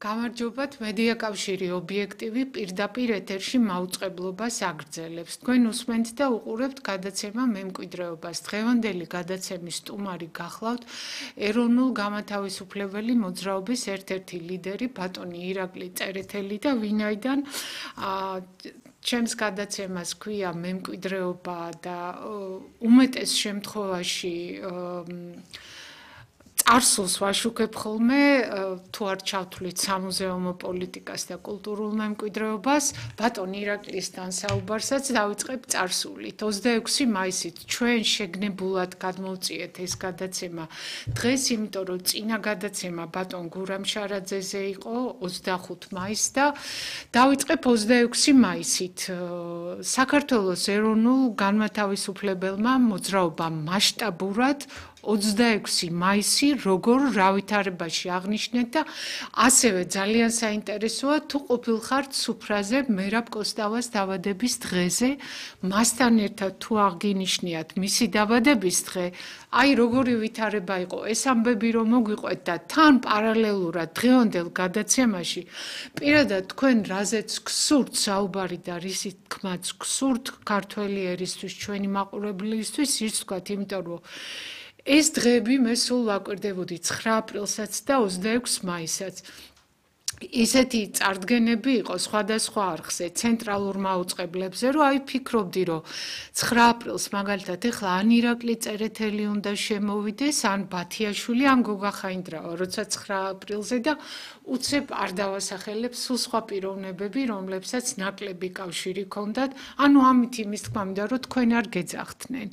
გამარჯობათ, მედია კავშირი ობიექტივი პირდაპირ ეთერში მაუწყებლობას აგრძელებს. თქვენ უსმენთ და უყურებთ გადაცემა მემკვიდრეობას. დღევანდელი გადაცემის სტუმარი გახლავთ ეროვნულ გამათავისუფლებელი მოძრაობის ერთ-ერთი ლიდერი ბატონი ირაკლი წერეთელი და ვინაიდან ჩემს გადაცემას ქვია მემკვიდრეობა და უმეტეს შემთხვევაში წარსულს ვაშუქებ ხოლმე თუ არ ჩავთვლით სამუზეუმო პოლიტიკას და კულტურულ მემკვიდრეობას, ბატონ ირაკლისთან საუბარსაც დავიწყებ წარსულით. 26 მაისით ჩვენ შეგნებულად გადმოვწიეთ ეს გადაცემა დღეს, იმიტომ რომ წინა გადაცემა ბატონ გურამ შარაძეზე იყო 25 მაისს და დავიწყებ 26 მაისით. საქართველოს ეროვნულ განმათავისუფლებელმა მოძრაობამ მასშტაბურად 26 მაისი როგორ რავითარებაში აღნიშნეთ და ასევე ძალიან საინტერესოა თუ ყოფილხართ სუფრაზე მერაბ კოსტავას დაბადების დღეზე, მასთან ერთად თუ აღგინიშნიათ მისი დაბადების დღე, აი როგორი ვითარება იყო ეს ამბები რომ მოგვიყვეთ და თან პარალელურად დღევანდელ გადაცემაში პირადად თქვენ რაზეც გსურთ საუბარი და რისი თქმაც გსურთ ქართველი ერისთვის ჩვენი მაყურებლისთვის ის ვთქვათ, იმიტომ რომ ეს დღეები მე სულ ვაკვირდებოდი 9 აპრილსაც და 26 მაისაც. ისეთი წარდგენები იყო სხვადასხვა არხზე, ცენტრალურ მაუწყებლებზე, რომ აი ფიქრობდი, რომ 9 აპრილს მაგალითად ეხლა ან ირაკლი წერეთელი უნდა შემოვიდეს, ან ბათიაშვილი, ან გოგა ხაინდრავა, როცა 9 აპრილზე და უცებ არ დავასახელებ სულ სხვა პიროვნებები, რომლებსაც ნაკლები კავშირი ჰქონდათ, ანუ ამით იმის თქმა მინდა, რომ თქვენ არ გეძახდნენ.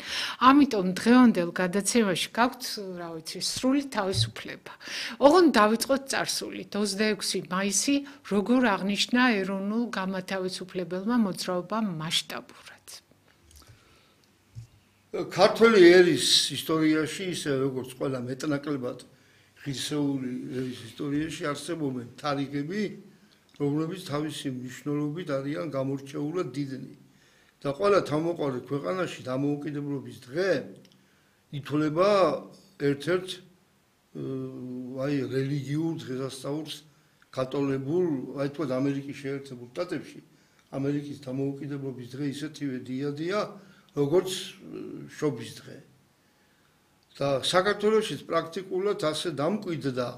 ამიტომ დღევანდელ გადაცემაში გაქვთ, რა ვიცი, სრული თავისუფლება. ოღონდ დავიწყოთ წარსულით. 26 მაისი როგორ აღნიშნა ეროვნულ გამათავისუფლებელმა მოძრაობამ მასშტაბურად. ქართველი ერის ისტორიაში, ისე როგორც ყველა მეტნაკლებად ღირსეული ერის ისტორიაში არსებობენ თარიღები, რომლებიც თავისი მნიშვნელობით არიან გამორჩეულად დიდნი. და ყველა თავმოყრილი ქვეყანაში დამოუკიდებლობის დღე ითვლება ერთ-ერთ რელიგიურ დღესასწაულს კათოლებულ, აი თქვა ამერიკის შეერთებულ შტატებში, ამერიკის დამოუკიდებლობის დღე ისეთივე დიადია, როგორც შობის დღე. და საქართველოშიც პრაქტიკულად ასე დამკვიდრდა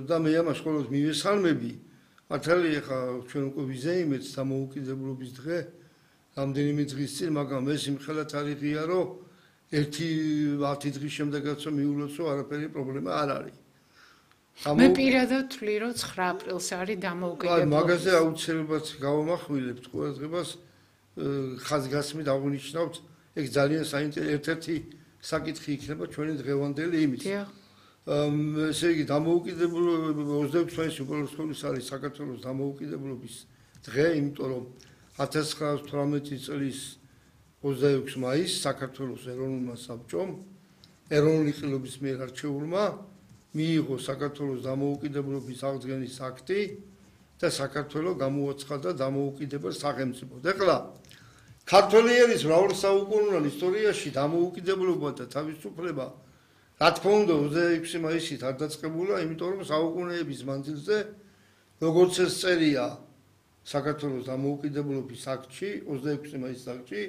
და მე ამას ყოველთვის მივესალმები, მართალი ახლა ჩვენ უკვე ვიზეიმეთ დამოუკიდებლობის დღე რამდენიმე დღის წინ, მაგრამ ეს იმხელა თარიღია, რომ 10 დღის შემდეგაც მიულოცო, არაფერი პრობლემა არ არის. მე პირადად ვთვლი, რომ 9 აპრილს არის დამოუკიდებლობის. მაგაზე აუცილებლად გავამახვილებთ ყურადღებას, ხაზგასმით აღნიშნავთ, ეგ ძალიან საინტერესო ერთ-ერთი საკითხი იქნება ჩვენი დღევანდელი იმით. ესე იგი დამოუკიდებლობის 26 მაისი უპირველეს არის საქართველოს დამოუკიდებლობის დღე, იმიტომ რომ 1918 წლის 26 მაისს საქართველოს ეროვნულმა საბჭომ, ეროვნული ყილობის მიერ არჩეულმა მიიღო საქართველოს დამოუკიდებლობის აღდგენის აქტი და საქართველო გამოაცხადა დამოუკიდებელ სახელმწიფოდ. ეხლა ქართველი ერის მრავალსაუკუნოვან ისტორიაში დამოუკიდებლობა და თავისუფლება რა თქმა უნდა 26 მაისით არ დაწყებულა, იმიტომ რომ საუკუნეების მანძილზე როგორც ეს წერია საქართველოს დამოუკიდებლობის აქტში, 26 მაისის აქტში,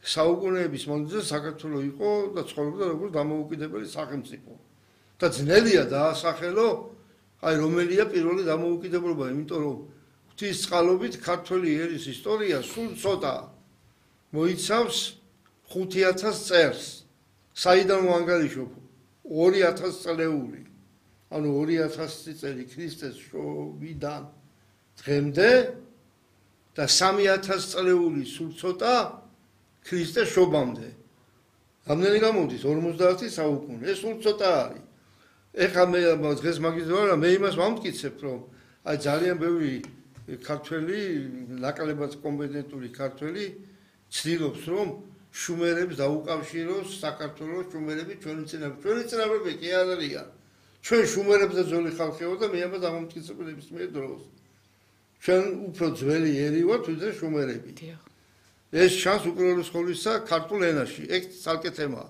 საუკუნეების მანძილზე საქართველო იყო და ცხოვრობდა როგორც დამოუკიდებელი სახელმწიფო. და ძნელია დაასახელო, აი რომელია პირველი დამოუკიდებლობა, იმიტომ რომ ღვთისწყალობით ქართველი ერის ისტორია სულ ცოტა მოიცავს 5000 წერს. საიდან ვანგარიშობ 2000 წლეული, ანუ 2000 წელი ქრისტეს შობიდან დღემდე და 3000 წლეული სულ ცოტა ქრისტეს შობამდე. რამდენი გამოდის 50 საუკუნე, ეს სულ ცოტა არის. ეხლა მე დღეს მაგის ვარ, მე იმას ვამტკიცებ, რომ აი ძალიან ბევრი ქართველი, ნაკლებად კომპეტენტური ქართველი ცდილობს, რომ შუმერებს დაუკავშიროს საქართველოს შუმერები ჩვენი წინაპრები კი არ არიან. ჩვენ შუმერებზე ძველი ხალხი ვართ და მე ამას ამომტკიცებ ნებისმიერ დროს. ჩვენ უფრო ძველი ერი ვართ, ვიდრე შუმერები. ეს ჩანს უპირველეს ყოვლისა ქართულ ენაში, ეგ ცალკე თემაა.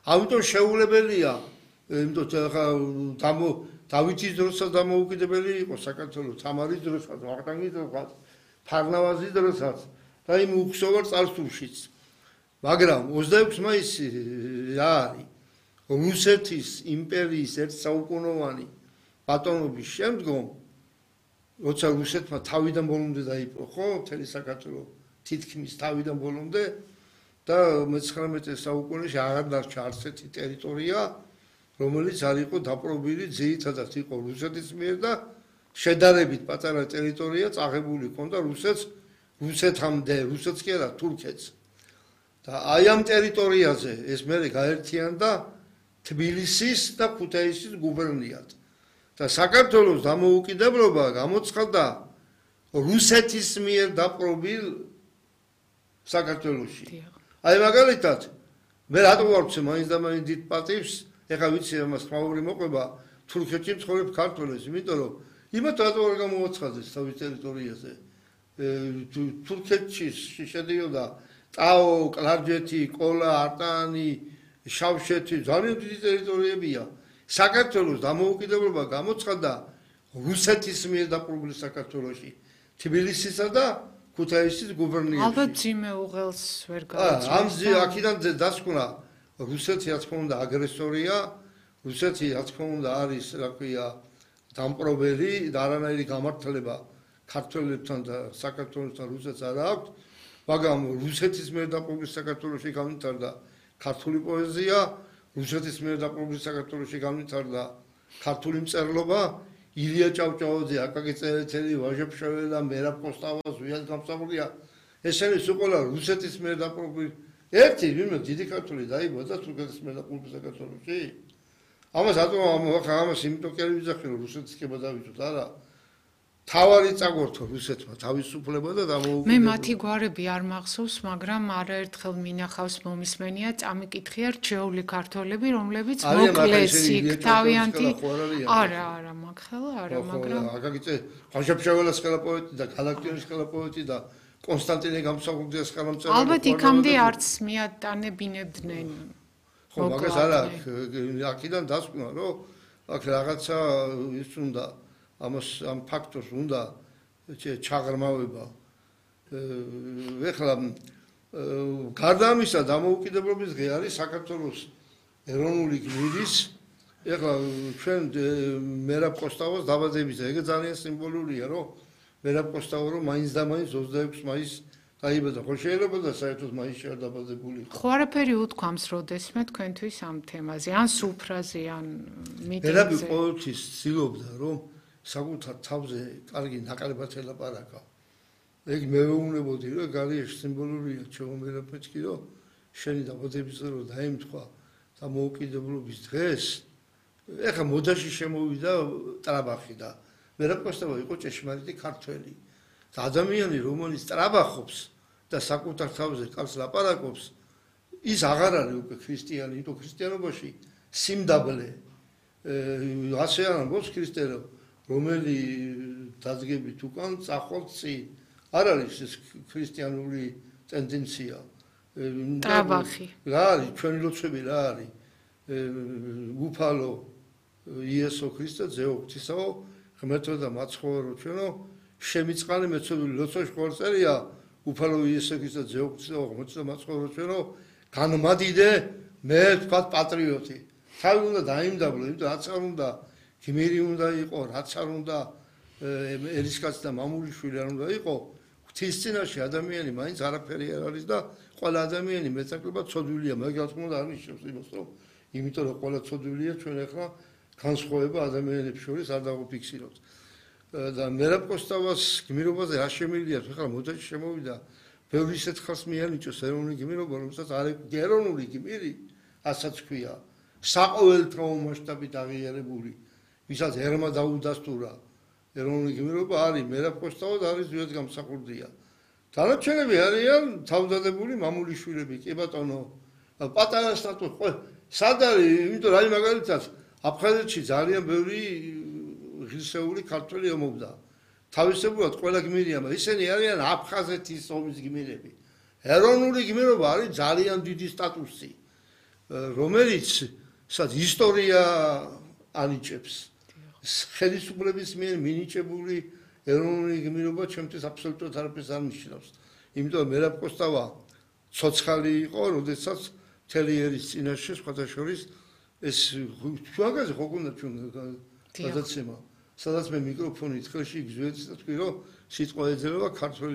ამიტომ შეუძლებელია იმიტომ დავითის დროსაც დამოუკიდებელი იყო საქართველოს, თამარის დროსაც, ვახტანგის დროსაც, ფარნავაზის დროსაც და იმ უქსოვარ წარსულშიც. მაგრამ 26 მაისი რა არის? რუსეთის იმპერიის ერთსაუკუნოვანი ბატონობის შემდგომ, როცა რუსეთმა თავიდან ბოლომდე დაიპყრო, ხო, მთელი საქართველო თითქმის თავიდან ბოლომდე და მე-19 საუკუნეში აღარ დარჩა არც ერთი ტერიტორია, რომელიც არ იყო დაპყრობილი, ძირითადად იყო რუსეთის მიერ და შედარებით პატარა ტერიტორია წაღებული ჰქონდა რუსეთამდე, რუსეთს კი არა, თურქეთს. და აი ამ ტერიტორიაზე ეს მერე გაერთიანდა თბილისის და ქუთაისის გუბერნიად. და საქართველოს დამოუკიდებლობა გამოცხადდა რუსეთის მიერ დაპყრობილ საქართველოში. აი მაგალითად, მე რატო ვარცე მაინც და მაინც დიდ პატივს, ეხლა ვიცი ამას ხმაური მოყვება თურქეთში მცხოვრებ ქართველებს, იმიტომ რომ იმათ რატო არ გამოაცხადეს თავის ტერიტორიაზე. თურქეთში შედიოდა ტაო, კლარჯეთი, ყოლა, არტანი, შავშეთი, ძალიან დიდი ტერიტორიებია. საქართველოს დამოუკიდებლობა გამოცხადდა რუსეთის მიერ დაპყრობილ საქართველოში, თბილისისა და ქუთაისის გუბერნიაში. ალბათ ძიმეუღელს ვერ გავაცნობ. აქედან დასკვნა რუსეთი რა თქმა უნდა აგრესორია, რუსეთი რა თქმა უნდა არის, რა ქვია, დამპყრობელი და არანაირი გამართლება ქართველებთან და საქართველოსთან რუსეთს არ აქვს, მაგრამ რუსეთის მიერ დაპყრობილ საქართველოში განვითარდა ქართული პოეზია, რუსეთის მიერ დაპყრობილ საქართველოში განვითარდა ქართული მწერლობა, ილია ჭავჭავაძე, აკაკი წერეთელი, ვაჟა ფშაველა და მერაბ კოსტავას ვიად გამსახურდია. ესენი სულ რუსეთის მიერ დაპყრობილ ერთი ვინმე დიდი ქართული დაიბადა თურქეთის მიერ დაპყრობილ საქართველოში. ამას რატომ ამას იმიტომ კი არ ვიძახი რომ რუსეთის კება დავიწყოთ, არა. თავარი წაგორთო რუსეთმა თავისუფლება და დამოუკიდებლობა. მე მათი გვარები არ მახსოვს, მაგრამ არაერთხელ მინახავს მომისმენია წამიკითხია რჩეული ქართველები, რომლებიც მოკლეს იქ თავიანთი არა, მაგხელა არა, მაგრამ აკაკი ვაჟა-ფშაველას ხელა პოეტი და გალაქტიონის ხელა პოეტი და კონსტანტინე გამსახურდიას ხელა მწერალი. ალბათ იქამდე არც მიატანებინებდნენ. ხო, მაგას არა, აქედან დასკვნა, რომ აქ რაღაცა ის უნდა ამ ფაქტორს უნდა ჩაღრმავება. ეხლა გარდა ამისა დამოუკიდებლობის დღე არის საქართველოს ეროვნული გმირის, ეხლა ჩვენ მერაბ კოსტავას დაბადების დღე, ეგ ძალიან სიმბოლურია, რომ მერაბ კოსტავა რომ მაინც და მაინც 26 მაისს დაიბადა. ხო შეიძლება და საერთოდ მაისში არ დაბადებული იყო. ხო არაფერი უთქვამს როდესმე თქვენთვის ამ თემაზე, ან სუფრაზე, ან მიტინგზე. მერაბი ყოველთვის ცდილობდა, რომ საკუთარ თავზე კარგი ნაკლებად ელაპარაკა. ეგ მეუბნებოდი, რომ გარიეში სიმბოლურია ჩემომერაფეც კი, რომ შენი დაბადების დღე რომ დაემთხვა დამოუკიდებლობის დღეს, ეხა მოდაში შემოვიდა ტრაბახი და მერაბ კოსტავა იყო ჭეშმარიტი ქართველი. და ადამიანი, რომელიც ტრაბახობს და საკუთარ თავზე კარგს ლაპარაკობს, ის აღარ არის უკვე ქრისტიანი, იმიტომ ქრისტიანობაში სიმდაბლე ასე არ ამბობს ქრისტე, რომელი დადგებით უკან წახვალ წინ. არ არის ეს ქრისტიანული ტენდენცია. ტრაბახი. რა არის ჩვენი ლოცვები რა არის? უფალო იესო ქრისტე ძეო ღვთისაო, ღმერთო და მაცხოვრო ჩვენო, შემიწყალი მეცოდული ლოცვაში ყოველ წერია, უფალო იესო ქრისტე ძეო ღვთისაო, ღმერთო და მაცხოვრო ჩვენო, განმადიდე მე თქვა პატრიოტი. თავი უნდა დაიმდაბლო, იმიტომ რაც არ უნდა გმირი უნდა იყო, რაც არ უნდა ერისკაცი და მამულიშვილი არ უნდა იყო, ღვთის წინაშე ადამიანი მაინც არაფერი არ არის და ყველა ადამიანი მეტნაკლებად ცოდვილია, მაგრამ რა თქმა უნდა არ ნიშნავს იმას, რომ იმიტომ რომ ყველა ცოდვილია, ჩვენ ახლა განსხვავება ადამიანებს შორის არ დავაფიქსირებთ. და მერაბ კოსტავას გმირობაზე რა შემიძლია, ახლა მოდაში შემოვიდა, ბევრი ისეთ ხალხს მიანიჭოს ეროვნული გმირობა, რომელსაც არ ეროვნული გმირი, ასაც ქვია, საყოველთაო მასშტაბით აღიარებული, ვისაც ერმა დაუდასტურა ეროვნული გმირობა არის მერაბ კოსტავა და არის ვიაც გამსახურდია. დანარჩენები არიან თავდადებული მამულიშვილები, კი ბატონო, პატარა სტატუსი, ხო, სად არის, იმიტომ რომ მაგალითად აფხაზეთში ძალიან ბევრი ღირსეული ქართველი ომობდა. თავისებურად ყველა გმირია, ისინი არიან აფხაზეთის ომის გმირები. ეროვნული გმირობა არის ძალიან დიდი სტატუსი, რომელიც სადაც ისტორია ანიჭებს. ხელისუფლების მიერ მინიჭებული ეროვნული გმირობა ჩემთვის აბსოლუტურად არაფერს არ ნიშნავს. იმიტომ რომ მერაბ კოსტავა ცოცხალი იყო, როდესაც თელიერის წინაშე სხვათა შორის ეს შუაგაზე ხო გქონდა ჩვენ გადაცემა, სადაც მე მიკროფონით ხელში გზვეცი და თქვი რომ სიტყვა ეძება ქართველი